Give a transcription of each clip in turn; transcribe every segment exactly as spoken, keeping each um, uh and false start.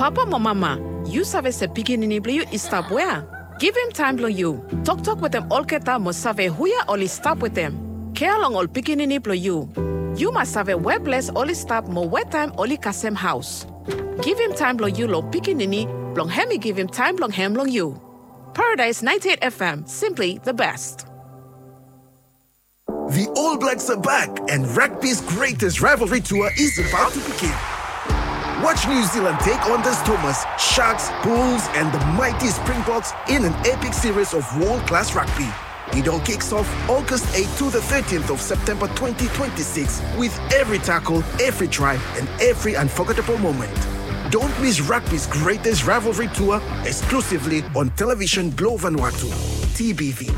Papa mo mama, yu save se pikinini blong yu i stap wea? Givim taem blong yu. Toktok wetem olgeta mo save huje oli stap wetem. Kea long ol pikinini blong yu. Yu mas save we ples oli stap mo we taem oli kasem haos. Givim taem blong yu long pikinini blong hem i givim taem blong hem long yu. Paradise ninety-eight F M, simply the best. The All Blacks are back, and rugby's greatest rivalry tour is about to begin. Watch New Zealand take on the Stormers, Sharks, Bulls, and the mighty Springboks in an epic series of world-class rugby. It all kicks off August eighth to the thirteenth of September twenty twenty-six, with every tackle, every try, and every unforgettable moment. Don't miss rugby's greatest rivalry tour, exclusively on Television Blue Vanuatu, T B V.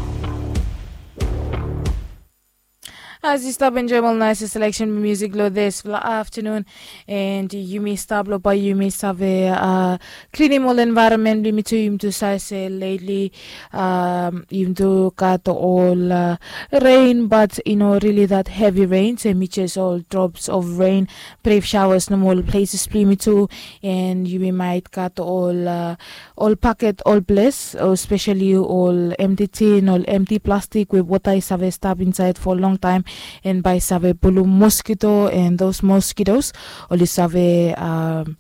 As yu stap enjoem ol naes seleksen blong musik long disfala aftanun, and yumi stap long bae yumi save, uh, klinim ol envaeronmen blong yumi tu. Yumi tu save se lately, um, yumi tu gat ol, uh, rain, but i no really that heavy rain, so hemi jes ol drops of rain, brief showers nomo ol places blong yumi tu, and yumi maet gat ol, uh, ol paket ol ples, especially ol empty tin, ol empty plastik we wota i save stap insaed for long taem, and bae i save pulum mosquito, and those mosquitoes oli save, um,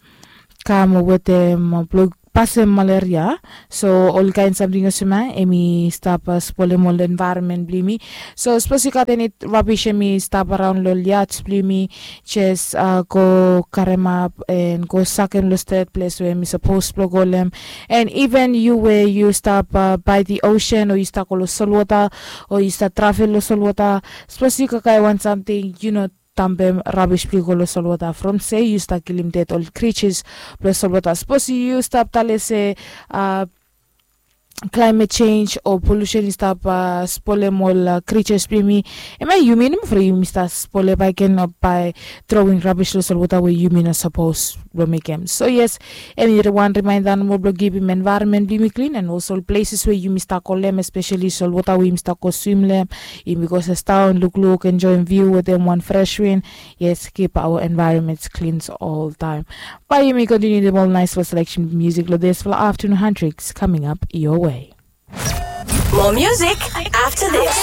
kam wetem, uh, blong pasem malaria. So ol kaen samting olsem ia hemi stap, uh, spolem ol envaeronmen blong yumi. So sapos yu gat eni rabis hemi stap araon long ol yards blong yumi, jes, uh, go karemap and go sakem long stret ples we hemi sapos blong go long hem. And even yu we yu stap, uh, by the ocean, o yu stap go long solwota, o yu stap travel long solwota, sapos yu kakae wan samting, yu no dampem rabis blong yu go long solwota, from se yu stap kilim ded ol creatures blong solwota. Sapos yu stap talem se, uh, climate change o pollution i stap, uh, spolem ol, uh, creatures blong yumi, hemia yumi nomo from yumi stap spolem bakegen, uh, by throwing rabis long solwota we yumi no sapos blong mekem. So yes, hemi wan remaenda nomo blong kipim envaeronmen blong yumi klin, and also ol places we yumi stap kolem, especially solwota we yumi stap go swim long hem, yumi go sidaon, lukluk, enjoem view wetem wan fresh win. Yes, keep our environments clean oltaem. Bae yumi kontiniu wetem ol naesfala seleksen musik long disfala aftanun. Handriks coming up your way. More music after this.